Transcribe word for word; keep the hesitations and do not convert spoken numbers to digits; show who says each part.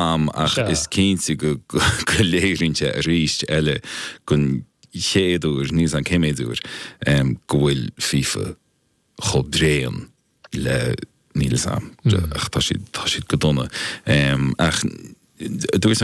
Speaker 1: Am ach is cinnte go go léiríonn sé arís eile don chéad uair, níl 's a'm cé mhéad uair, go bhfuil FIFA chomh bréan le níl 's a'm ach tá siad tá siad go dona. Ach dúirt